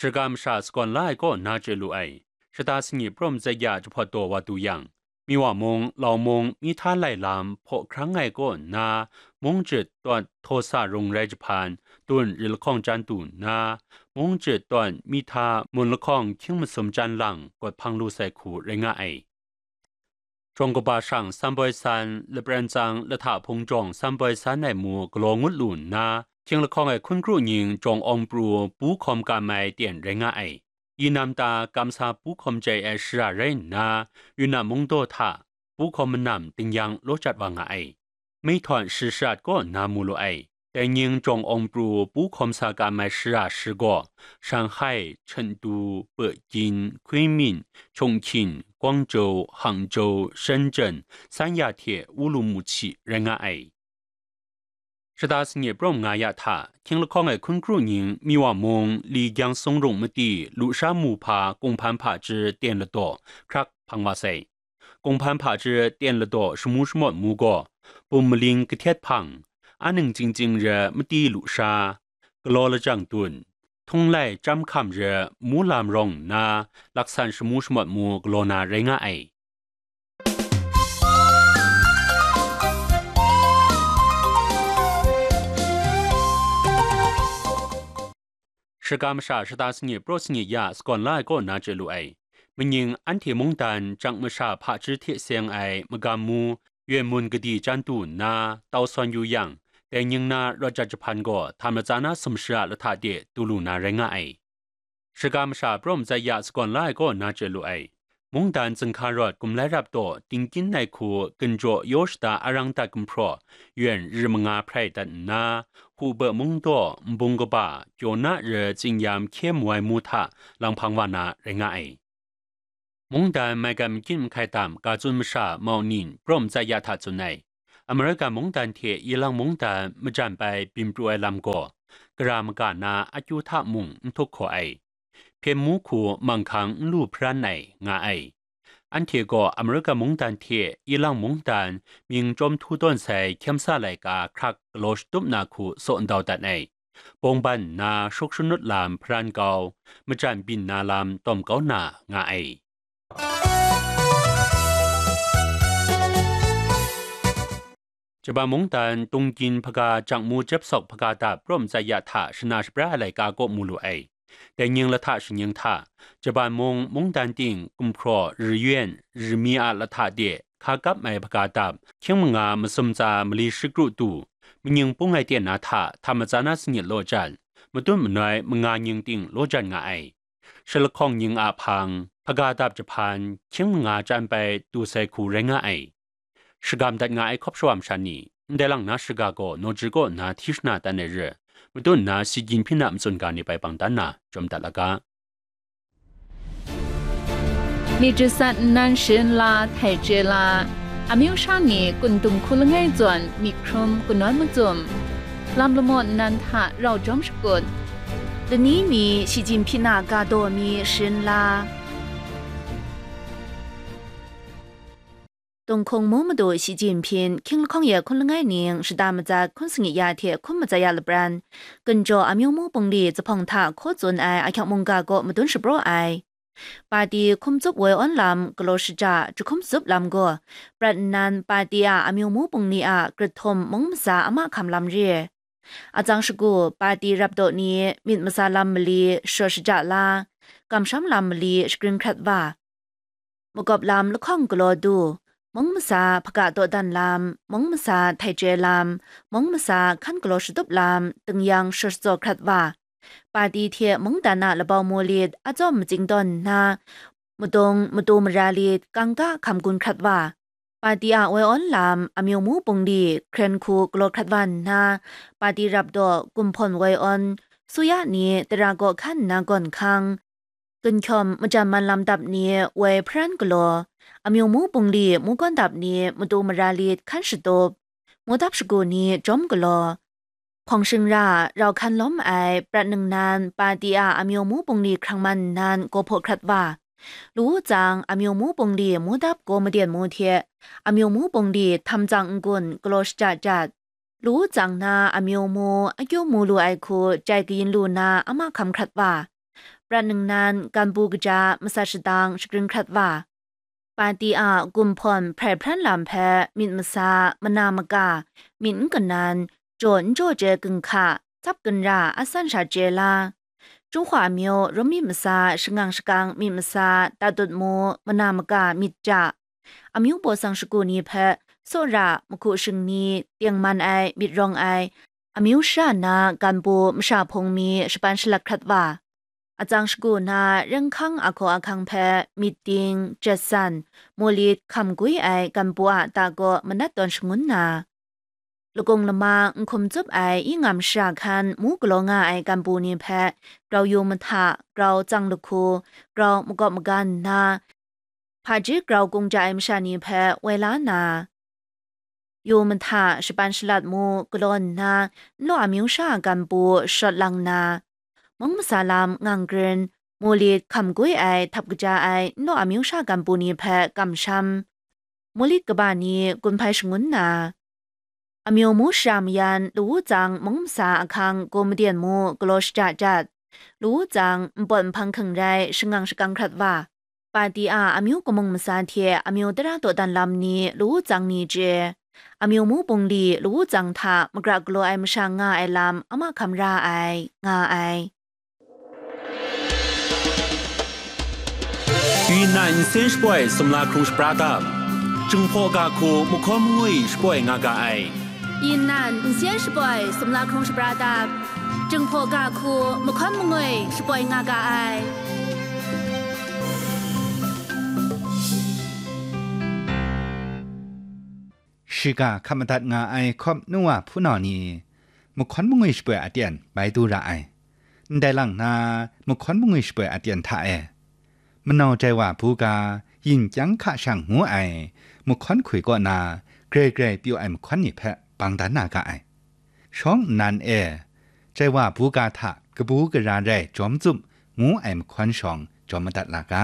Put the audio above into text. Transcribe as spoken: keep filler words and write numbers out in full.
Shaka masha sagawn la ai kaw na chye lu ai. Shata sanyi prum zaja jahpawt daw wa du yang, Miwa mung, Lau mung, mi hta lai lam hpaw hkrang ai kaw nna, mung jit tawt htaw sa rung rai jahpan, tun ri lahkawng chyan du nna, mung jit tawt mi hta mun lahkawng hkying masum chyan lang gawt hpang lu sai hku rai nga ai. Jawng kaba shang samboi san, lapran tsang lahta hpung jawng samboi san ai mu galaw ngut lu nna, hkying lahkawng ai hkun kru nying jawng awng pru pu hkawm kam ai ten rai nga ai. Yinam ta kamsa pu hkawm chye ai shara rai nna, Yunnan mungdaw hta pu hkawm manam tingyan law jat wa nga ai. Meihtawn shi sharat kaw na mu lu ai. Dai nying jawng awng pru pu hkawm sa kam ai shara shi gaw, Shanghai, Chengdu, Pekin, Kunming, Chongqing, Guangzhou, Hangzhou, Shenzhen, Sanya hte Wulumuchi rai nga ai. Shata sanyi prum nga ya hta, hkying lahkawng ai hkun kru nying Miwa mung, Li Gyang Sung Rung mati, lusha mu hpa kunghpan hpaji ten ladaw hkrak hpang wa sai. Kunghpan hpaji ten ladaw shamu shamawt mu gaw, bum maling kahtet hpang, aning chyingchying re mati lusha, galaw lajang dun, htunglai chyam hkam re mu lam rawng nna, laksan shamu shamawt mu galaw na rai nga ai. Shaka masha shata sanyi pru sanyi ya sagawn la ai kaw na chye lu ai. Manying anhte mungdan jang masha hpaji hte seng ai magam mu, yen mun gadi chyan du nna tau sawn yu yang, dai nying na rawt jat jahpan gaw htam latsa na sumsha lahta de du lu na rai nga ai. Shaka masha prum zaja sagawn la ai kaw na chye lu ai. Mungdan zinghka rawt gumlai rap taw, dingkyin ai hku ginjaw yaw shada arang dat gumhpraw, yen ri manga hprai dat nna, Hubei mungdaw nbung kaba, Kyona re tsingyam hkye mu ai mu hta lang hpang wa na rai nga ai. Mungdan maigan makyit mahkai dam ga tsun masha Mao Ning prum zaja hta tsun ai. Amerika mungdan hte Ilang mungdan majan bai byin pru ai lam gaw, gara maga na akyu hta mung n htup hkaw ai. Hpyen mu hku manghkang n lu hparan ai nga ai. Anhte gaw Amerika mungdan hte Ilang mungdan mying chyawm htu tawn sai hkyem sa laika hkrak galaw shatup na hku saw ndau dat ai. Bawng ban nna shuk shanut lam hparan kau, majan byin na lam tawm kau na nga ai. Japan mungdan Tungkin hpaga jang mu jep sawk hpaga dap prum zaja hta shana shabra ai laika kaw mu lu ai. Dai nying lahta shanying hta, Japan mung mungdan ting gumhpraw ri yuen ri mi a lahta de hka kap ai hpaga dap, hkying manga masum tsa mali shikru tu, manying pung ai ten na hta htam matsa na sanyit law jan, matut manoi manga nying ting law jan nga ai. Shalahkawng nying a hpang, hpaga dap jahpan, hkying manga chyan bai du sai hku rai nga ai. Shagam dat nga ai hkawp shawa masha ni, ndai lang na shaga gaw naw jir kaw nna hti shana dan ai re, matut nna si gyin hpyi na matsun ga ni bai bang dan na, jawm dat la ga. Myit jasat nnan sharin la, htai chye la, amyu sha ni kun dum hku langai zawn myit hkrum kanawn macum, lam lamaw nnan hta rau jawm shakut, lani mi shi jin hpyi na ga daw mi sharin la. Tunghkung mu madu Shi Jinping, hkying lahkawng ya hkun langai ning shada matsat hkun sangi ya hte hkum matsat ya lapran, Ginjaw amyu mu bungli zuphpawng hta hkaw tsun ai ahkyak mungga kaw madun shapraw ai. Pati hkum tsup woi awn lam galaw shaja jahkum tsup lam gaw, prat nnan pati a amyu mu bungli a grit htum mung masa a mahkam lam re. Atsang shagu pati rapdaw ni myit masa lam mali sharawt shaja la, kamsham lam mali shagrin hkrat wa. Makawp lam lahkawng galaw du, mung masa hpaga dawdan lam, mung masa htai chye lam, mung masa hkan galaw shatup lam, tingyan sharawt shajaw hkrat wa. Pati hte mungdan a labau mu lit atsawm matsing tawn nna, madung matu mara lit kangka hkam gun hkrat wa. Pati a woi awn lam, amyu mu bungli hkren hku galaw hkrat wa nna, pati rapdaw gumhpawn woi awn, suya ni tara kaw hkan nna gawn hkang, ginhkyawm majan man lam dap ni woi hparan galaw, amyu mu bungli mu gawn dap ni matu mara lit hkan shatup, mu dap shagu ni jawm galaw, hpawng shingra rau hkan lawm ai prat ningnan pati a amyu mu bungli hkrang man nnan gaw hpaw hkrat wa. Lu u tsang, amyu mu bungli mu dap gaw maden mu hte, amyu mu bungli htam tsang n-gun galaw shaja jat. Lu u tsang na amyu mu akyu mu lu ai hku chyai kayin lu na a mahkam hkrat wa. prat ningnan ganbu kaja masat shadang shagrin hkrat wa, pati a gumhpawn hprai hpran lam hpe myit masa, mana maka, myit n kanan, jaw n jaw chye ginhka, tsap ginra, asan sha chye la, Jinghwa amyu rum myit masa, shangang shakang myit masa, tatut mu, mana maka myit ja, amyu baw sang shagu ni hpe, sawra, mahku shingni, tengman ai, myit rawng ai, amyu shara na ganbu masha hpung mi shapan shalat hkrat wa, atsang shagu na renghkang ahkaw ahkang hpe myit ting, jet san, mulit, hkam gwi ai ganbu a ta kaw manat tawn shangun na, lakung lama nhkum tsup ai ingam shara hkan mu galaw nga ai ganbu ni hpe grau yu mahta, grau tsang lahku, grau makawp magan nna, hpaji grau kung ja ai masha ni hpe woi la na, yu mahta, shapan shalat mu galaw nna, nlaw amyu shara ganbu shawt lang na, mung masa lam ngang grin, mulit hkam gwi ai htap kaja ai nlaw amyu shara ganbu ni hpe kamsham, mulit kaba ni gun hpai shangun na, amyu mu shara mayan lawu tsang mung masa ahkang gaw maden mu galaw shaja jat, lawu tsang npawt nhpang hking rai shangang shakang hkrat wa, pati a amyu kamung masa hte amyu tara dawdan lam ni lawu tsang ni chye, amyu mu bungli lawu tsang hta magra galaw ai masha nga ai lam a mahkam ra ai, nga ai. 云南人先 shapoi sumla hkrung shapra dap, Jinghpaw ga hku mahkawn mangwi shapoi nga ga ai. 云南人先 shapoi sumla hkrung shapra dap, Jinghpaw ga hku mahkawn mangwi shapoi nga ga ai. Shiga hkap madat nga ai hkawp nu wa hpunau ni, mahkawn mangwi shapoi aten bai du ra ai. Ndai lang na, mahkawn mangwi shapoi aten hta e, manau jai wa buga, yin kyang hka shang ngu ai mahkawn hkui kaw na, grai grai pyaw ai mahkawn ni hpe bang dan na ga ai. Shawng nnan e, jai wa buga hta kabu gara rai jawm tsup ngu ai mahkawn shawng jawm madat la ga.